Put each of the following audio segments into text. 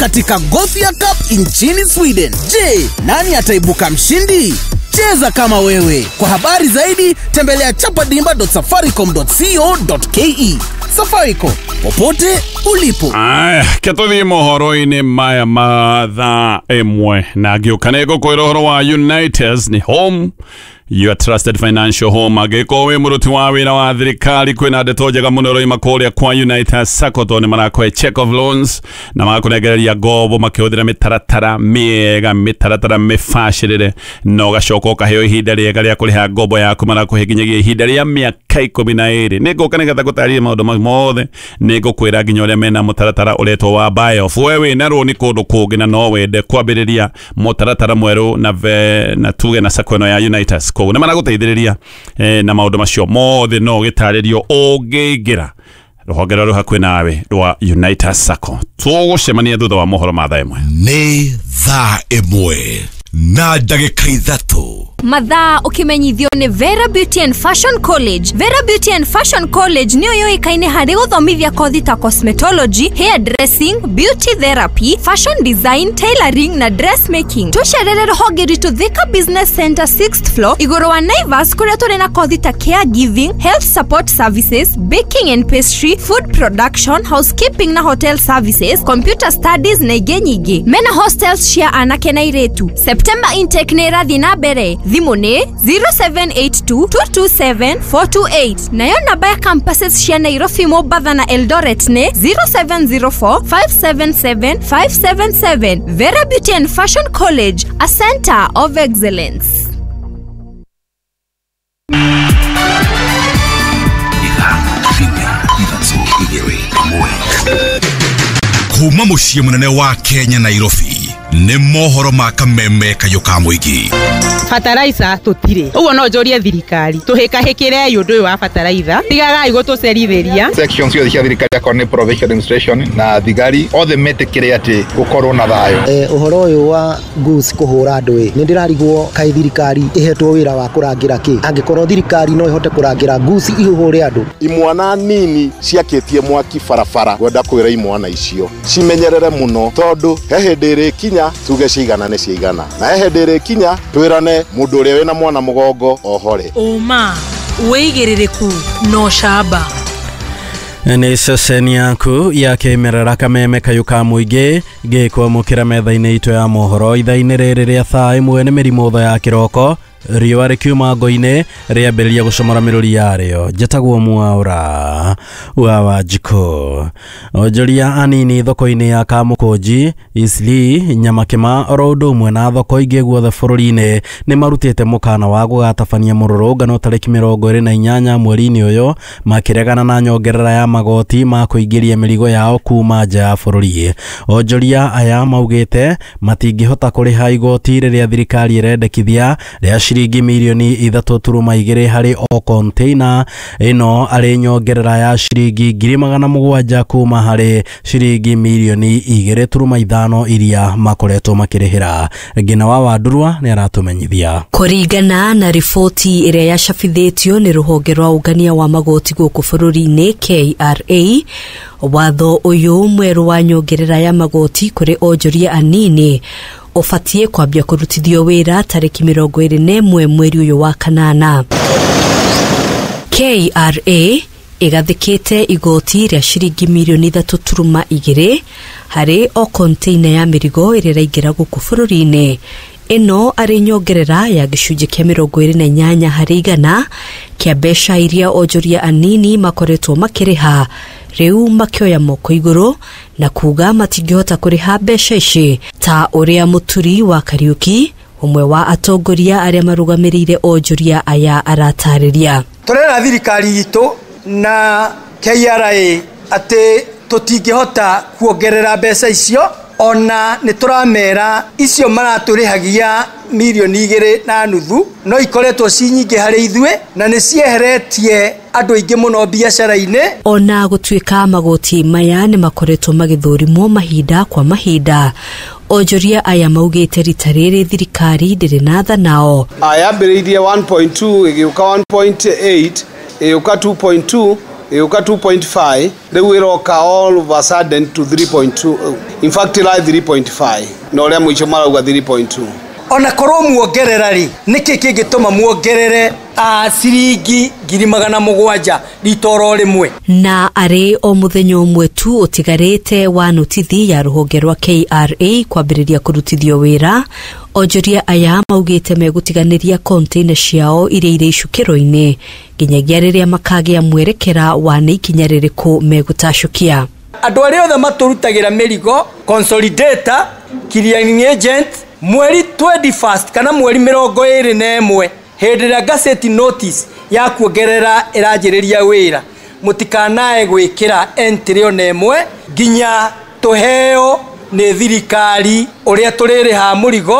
katika Gothia Cup nchini Sweden. Je, nani ataibuka mshindi? Cheza kama wewe. Kwa habari zaidi tembelea chapadimba.safaricom.co.ke. Safaricom, popote ulipo. Aya, ketuthie mohoro-inĩ maya ma thaa ĩmwe na ngĩũka nĩ ngũkwĩra ũhoro wa Unitas nĩ home, your trusted financial home. Angĩkorwo wĩ mũruti wa wĩra wa thirikari, kwĩna ndeto njega mũno ĩroima kũrĩa kwa Unitas Sacco, tondũ nĩ marakũhe check of loans na magakũnengereria ngombo makĩhũthĩra mĩtaratara mĩega, mĩtaratara mĩbacĩrĩre, na ũgacoka ũkaheo ihinda rĩega rĩa kũrĩha ngombo yaku. Marakũhe nginyagia ihinda rĩa mĩaka 12. Nĩ ngũka nĩgetha ngũtarĩrie maũndũ mau mothe, nĩ ngũkwĩra nginya ũrĩa mena mũtaratara ũretwo wa buy off. We wĩna rũni kũndũ kũngĩ na no wende kwambĩrĩria mũtaratara mwerũ na tuge na sacco ĩno ya Unitas, koguo nĩ maragũteithĩrĩria na maũndũ macio mothe no gĩtarĩrio ũngĩingĩra rũhonge rũrĩa rũhakuhĩ nawe rwa Unitas Sacco. Tũgũcemania thutha wa mohoro ma thaa ĩmwe. Nĩ thaa ĩmwe na ndagĩka ithatũ. Mathaa ũkĩmenyithio nĩ Vera Beauty and Fashion College. Vera Beauty and Fashion College nĩyo yũĩkaine harĩ gũthomithia kothi ta cosmetology, hair dressing, beauty therapy, fashion design, tailoring na dressmaking. Tũcerere rũhonge rwitũ Thika Business Center 6th floor igũrũ wa Naivas, kũrĩa tũrĩ na kothi ta caregiving, health support services, baking and pastry, food production, housekeeping na hotel services, computer studies na ingĩ nyingĩ. Mena hostels cia anake na airĩtu. September intake nĩ ĩrathiĩ na mbere. Thimũ nĩ 0782 227 428. Nayo namba ya campuses cia Nairobi, Mombatha na Eldoret nĩ 0704 577 577. Vera Beauty and Fashion College, a center of excellence. Kuma mũciĩ mũnene wa Kenya, Nairobi, nĩ mohoro ma kameme kayũ ka mũingĩ. Bataraitha tũtirĩ, ũguo no njũrie thirikari tũhĩkahĩkĩrei ũndũ ũyũ wa bataraitha, tigagai gũtũcerithĩria. Section ciothe cia thirikari, akorwo nĩ provincial administration na thigari othe, metĩkĩre atĩ gũkorwo na thayũ. Ũhoro ũyũ wa goose kũhũra andũ ĩ, nĩ ndĩrarigwo kaĩ thirikari ĩhetwo wĩra wa kũrangĩra kĩ, angĩkorwo thirikari no ĩhote kũrangĩra goose ihũre andũ. Imwana nini ciakĩtie mwaki barabara, ngwenda kwĩra imwana icio cimenyerere mũno, tondũ he hĩndĩ ĩrĩkinya tuge ciigana nĩ ciigana, na he hĩndĩ ĩrĩkinya twĩrane mũndũ ũrĩa wĩna mwana mũgongo ohore. Ũma, wĩigĩrĩrĩku na ũcamba. Nĩ ceceni yaku ya kĩmerera kameme kayũ ka mũingĩ gĩkwamũkĩra metha-inĩ itũ ya mohoro ithaa-inĩ rĩrĩ rĩa thaa ĩmwe. Nĩ mĩrimũ tho ya kĩroko, riũa rĩkiuma ngo-inĩ rĩambĩrĩria gũcomora mĩrũri yarĩo. Njĩtagwo Mwaũra wa Wanjikũ. Onjoria anini thoko-inĩ ya Kamũkũnji, Isli, Nyamakĩma oro ũndũ ũmwe na thoko ingĩ guothe bũrũri-inĩ nĩ marutĩte mũkana wa gũgatabania mũrũrũngano tarĩki 28 mweri-inĩ ũyũ, makĩregana na nyongerera ya magoti ma kũingĩria mĩrigo yao kuma nja ya bũrũri. Onjoria aya maugĩte matingĩhota kũrĩha igoti rĩrĩa thirikari ĩrendekithia rĩa ciringi mirioni 3.2 harĩ o container, ĩno arĩ nyongerera ya ciringi 700,000 kuma harĩ ciringi mirioni 2.5 iria makoretwo makĩrĩhĩra. Ngina wa Wandurwa nĩ aratũmenyithia. Kũringana na riboti ĩrĩa yacabithĩtio nĩ rũhonge rwa ũngania wa magoti gũkũ bũrũri-inĩ KRA, watho ũyũ mwerũ wa nyongerera ya magoti kũrĩ onjoria anini ũbatiĩ kwambia kũrutithio wĩra tarĩki 21 mweri ũyũ wa kanana. KRA ĩgathĩkĩte igoti rĩa ciringi mirioni 3.2 harĩ o container ya mĩrigo ĩrĩa ĩraingĩra gũkũ bũrũri-inĩ, ĩno arĩ nyongerera ya gĩcunjĩ kĩa 28 harĩ igana kĩa mbeca iria onjoria anini makoretwo makĩrĩha. Rĩu makĩoya moko igũrũ na kuga matingĩhota kũrĩha mbeca ici, ta ũrĩa Mũturi wa Kariũki, ũmwe wa atongoria arĩa marũgamĩrĩire onjoria aya, aratarĩria. Tũrera thirikari itũ na KRA atĩ tũtingĩhota kuongerera mbeca icio, ona nĩ tũramera icio maratũrĩhagia mirioni 2.5 no ikoretwo ci nyingĩ harĩ ithuĩ na nĩ cieheretie andũ aingĩ mũno biacara-inĩ. Ona gũtuĩka magoti maya nĩ makoretwo magĩthũrimwo mahinda kwa mahinda, onjoria aya maugĩte rita rĩrĩ thirikari ndĩrĩ na tha nao. Yambĩrĩirie 1.2 ĩgĩũka 1.8 ĩgĩũka 2.2 Ĩgĩũka 2.5, rĩu ĩroka all of a sudden to 3.2. In fact ĩra 3.5 na ũrĩa mũico marauga 3.2. Ona korwo muongerera rĩ, nĩkĩ kĩngĩtũma muongerere ciringi 700,000 rita oro rĩmwe? Na arĩ o mũthenya ũmwe tu ũtigarĩte wa notithi ya rũhonge rwa KRA kwambĩrĩria kũrutithio wĩra, onjoria aya maugĩte megũtiganĩria container ciao iria irĩ icukĩro-inĩ nginyagia rĩrĩa makagĩa mwerekera wa nĩ ikinya rĩrĩkũ megũtacũkia. Andũ arĩa othe matũrutagĩra mĩrigo, consolidator, clearing agent, mweri 21 kana mweri 21 hĩndĩ ĩrĩa gazette notice ya kuongerera ĩranjĩrĩria wĩra, mũtikanae gwĩkĩra entry ona ĩmwe nginya tũheo nĩ thirikari ũrĩa tũrĩrĩhaga mũrigo,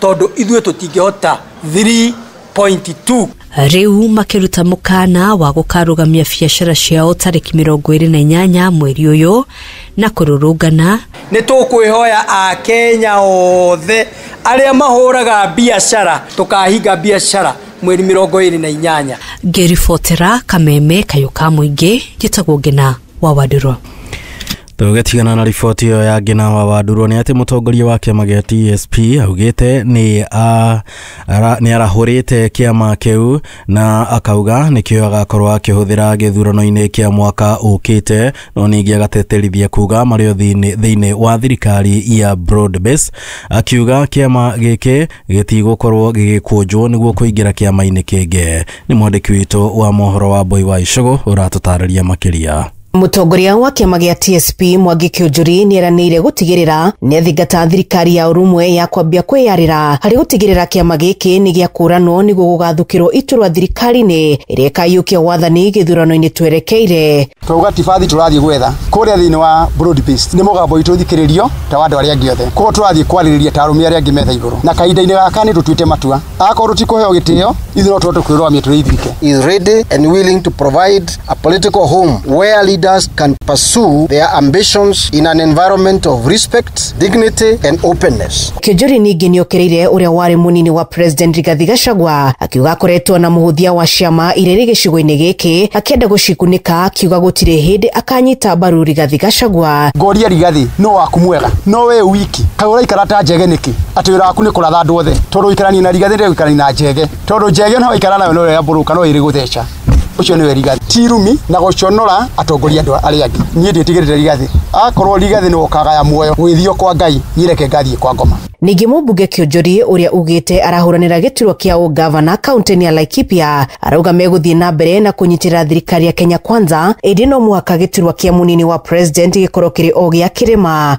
tondũ ithuĩ tũtingĩhota 3.2. Rĩu makĩruta mũkana wa gũkarũgamia biacara ciao tarĩki 28 mweri ũyũ na kũrũrũngana. Nĩ tũkwĩhoya Akenya othe arĩa mahũraga biacara tũkahinga biacara mweri 28. Ngĩribotera Kameme Kayũ ka Mũingĩ, njĩtagwo Ngina wa Wandũrũ. Tũgĩtigana na riboti ĩyo ya Ngina wa Wandũrũ nĩ atĩ mũtongoria wa kĩama gĩa TSP augĩte nĩ arahũrĩte kĩama kĩu na akauga nĩkĩo agakorwo akĩhũthĩra gĩthurano-inĩ kĩa mwaka ũkĩte, no ningĩ agateterithia kuga marĩ thĩinĩ wa thirikari ya broad base, akiuga kĩama gĩkĩ gĩtigũkorwo gĩgĩkũnjwo nĩguo kũingĩra kĩama-inĩ kĩngĩ. Nĩ mwandĩki witũ wa mohoro wa Mbui wa Icũgũ ũratũtarĩria makĩria. Mũtongoria wa kĩama gĩa TSP Mwangi Kĩũnjũri nĩeranĩire gũtigĩrĩra nĩathingata thirikari ya ũrũmwe ya kwambia kwĩyarĩra harĩ gũtigĩrĩra kĩama gĩkĩ nĩ gĩakũranwo nĩguo gũgathũkĩrwo iturwa thirikari-inĩ ĩrĩa ĩkaiyũkia wathani gĩthurano-inĩ twerekeire. Twauga ti bathi tũrathiĩ gwetha kũrĩa thĩinĩ wa broad based nĩ mũgambo witũ ũthikĩrĩrio ta wa andũ arĩa angĩ othe, koguo tũrathiĩ kwarĩrĩria ta arũme arĩa angĩ metha igũrũ, na kahinda-inĩ gaka nĩ tũtuĩte matua akorwo tũtikũheo gĩtĩo ithuĩ no tũhote kwĩrũgamia tũrĩ ithuike. Is ready and willing to provide a political home where leaders can pursue their ambitions in an environment of respect, dignity and openness. Kĩũnjũri ningĩ nĩokĩrĩire ũrĩa warĩ mũnini wa President Rigathi Gachagua akiuga akoretwo na mũhũthia wa ciama iria irĩ gĩcigo-inĩ gĩkĩ akĩenda gũcikunĩka, akiuga gũtirĩ hĩndĩ akanyita mbaru Rigathi Gachagua. Ngoria Rigathi no waku mwega no we wiki kaĩ ũraikara ta njege nĩkĩ atĩ wĩra waku nĩ kũratha andũ othe, tondũ ũikaranie na Rigathi ndĩrĩ gũikarania na njege, tondũ njege no waikara nayo no ĩrĩa no ĩrĩ gũtheca. Ũcio nĩwe Rigathi ti rumi na gũconora atongoria andũ arĩa angĩ. Niĩ ndiĩtigĩrĩte Rigathi, akorwo Rigathi nĩwe ũkagaya muoyo gwĩthio kwa Ngai, niĩ reke ngathiĩ kwa ngoma. Ningĩ mũmbunge Kĩũnjũri ũrĩa ugĩte arahũranĩra gĩturwa kĩa ũgavana kaunti-inĩ ya Laikipia arauga megũthiĩ na mbere na kũnyitĩrĩra thirikari ya Kenya Kwanza, ĩndĩ no mũhaka gĩturwa kĩa mũnini wa president gĩkorwo kĩrĩ o gĩa kĩrĩma.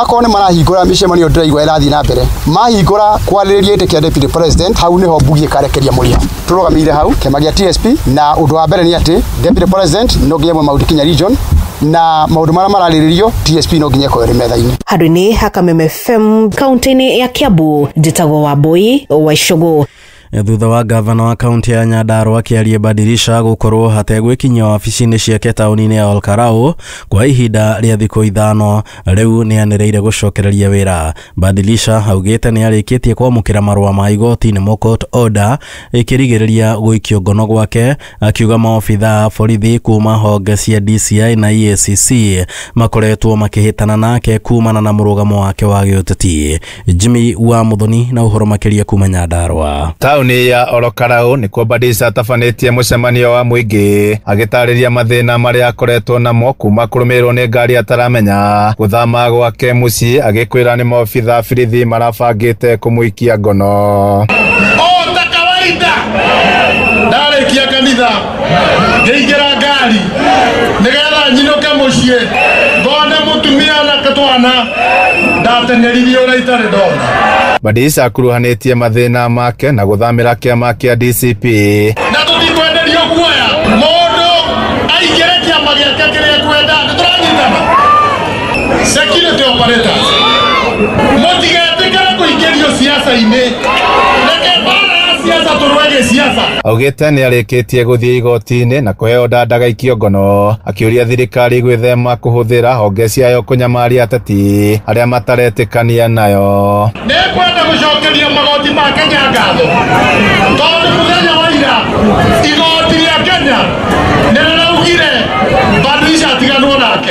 Akorwo nĩ marahingũra mĩcemanio ndĩraigua ĩrathiĩ na mbere, mahingũra kwarĩrĩria gĩtĩ kĩa deputy president, hau nĩho mbugi ĩkarekeria mũrĩo. Tũrũgamĩire hau kĩama gĩa TSP, na ũndũ wa mbere nĩ atĩ deputy president no nginya mwe Mount Kenya region, na maũndũ marĩa mararĩrĩrio TSP no nginya ĩkorwo ĩrĩ metha-inĩ. Handũ-inĩ ha Kameme FM kaunti-inĩ ya Kiambu, njĩtagwo Wambui wa Icũgũ. Thutha wa gavana wa kaunti ya Nyandarua akĩaria Badirisha gũkorwo hategwĩkinyia wabici-inĩ ciake taũni-inĩ ya Olkarau kwa ihinda rĩa thikũ 5, rĩu nĩanĩrĩire gũcokereria wĩra. Badirisha augĩte nĩarĩkĩtie kwamũkĩra marũa ma igoti nĩmo court order ĩkĩrigĩrĩria gũikio ngono gwake, akiuga maobithaa a borithi kuma honge cia DCI na EACC makoretwo makĩhĩtana nake kumana na mũrũgamo wake wa gĩũteti. Jimmy wa Muthoni na ũhoro makĩria kuma Nyandarua. Taũni ya Olokarau nĩkuo Badirisha atabanĩtie mũcemanio wa mũingĩ agĩtarĩria mathĩna marĩa akoretwo namo kuma kũrũmĩrĩrwo nĩ ngari ataramenya, gũthama gwake mũciĩ agĩkwĩra nĩ maobithaa borithi marabangĩte kũmũikia ngono. O ta kawaida ndarĩkia kanitha ngĩingĩra ngari nĩgetha nyinũke mũciĩ ngone mũtumia na twana ndateneririe ũrĩa itarĩ ndona. Badirisha akuruhanĩtie mathĩna make na gũthamĩra kĩama kĩa DCP. Na tũtikwenderio guoya mũndũ aingĩre kĩama gĩake kĩrĩa ekwenda, nĩtũranyitana. Security operators mũtigetĩkĩre kũingĩrio siasa-inĩ, reke mbara ya siasa tũrũe gĩsiasa. Augĩte nĩarĩkĩtie gũthiĩ igoti-inĩ na kũheo ndandagaikio ngono, akĩũria thirikari gwĩthema kũhũthĩra honge ciayo kũnyamaria ateti arĩa mataretĩkania nayo. Nĩngwenda gũcokeria magoti ma Kenya ngatho tondũ mũthenya wa ira igoti rĩa Kenya nĩrĩraugire Badilisha atiganwo nake.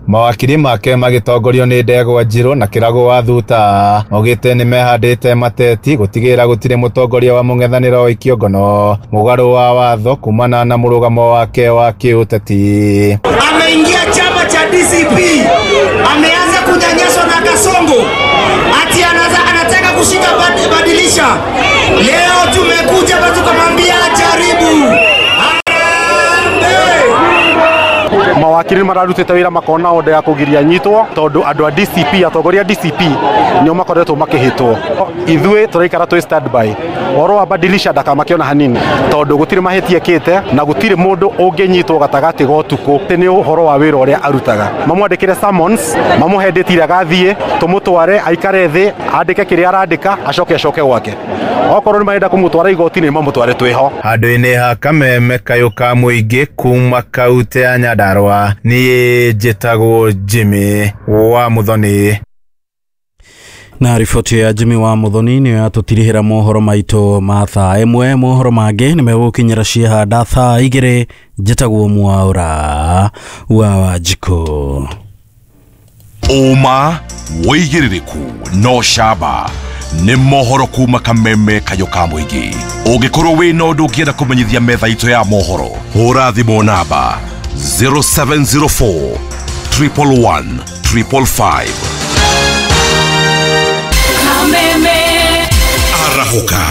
Mawakiri make magĩtongorio nĩ Ndegwa Njirũ na Kĩragũ wa Thuta maugĩte nĩ mehandĩte mateti gũtigĩrĩra gũtirĩ mũtongoria wa mũng'ethanĩro oikio ngono mũgarũ wa watho kumana na mũrũgamo wake wa kĩũteti. Ameingia chama cha DCP, ameanza kunyanyaswa na Kasongo, ati anataka kushika Badilisha. Leo tumekuja hapa tukamwambia jaribu. Mawakiri mararutĩte wĩra makona order ya kũgiria nyitwo tondũ andũ a DCP, atongoria a DCP nĩo makoretwo makĩhĩtwo. Ithuĩ tũraikara twĩ standby. Ũhoro wa Badilisha ndakamake ona hanini tondũ gũtirĩ mahĩtia ekĩte na gũtirĩ mũndũ ũngĩnyitwo gatagatĩ ga ũtukũ. Nĩ ũhoro wa wĩra ũrĩa arutaga. Mamwandĩkĩre summons, mamũhe date ĩrĩa agathiĩ, tũmũtware aikare thĩ, andĩke kĩrĩa arandĩka, acoke acoke gwake. Okorwo nĩ marenda kũmũtwara igoti-inĩ mamũtware twĩho. Handũ-inĩ ha Kameme kayũ ka mũingĩ kuma kaunti ya Nyandarua, niĩ njĩtagwo Jimmy wa Muthoni. Na riboti ya Jimmy wa Muthoni nĩyo yatũtirihĩra mohoro maitũ ma thaa ĩmwe. Mohoro mangĩ nĩ megũkinyĩra ciehanda thaa igĩrĩ. Njĩtagwo Mwaũra wa Wanjikũ. Ũma wĩigĩrĩrĩku no camba nĩ mohoro kuma Kameme kayũ ka mũingĩ. Ũngĩkorwo wĩna ũndũ ũngĩenda kũmenyithia metha itũ ya mohoro, hũra thimũ namba 0704 111 555. Kameme. Arahũka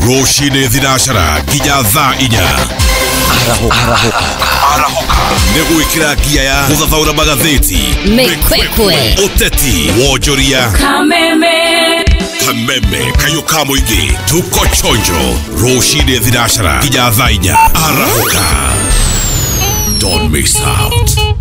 rũcinĩ thinacara nginya thaa inya. Arahũka nĩ gwĩkĩra ngia ya gũthathaũra magathĩti, Mĩkwekwe, ũteti, wonjoria. Kameme. Kameme kayũ ka mũingĩ, tuko chonjo rũcinĩ thinacara nginya thaa inya. Arahũka, don't miss out.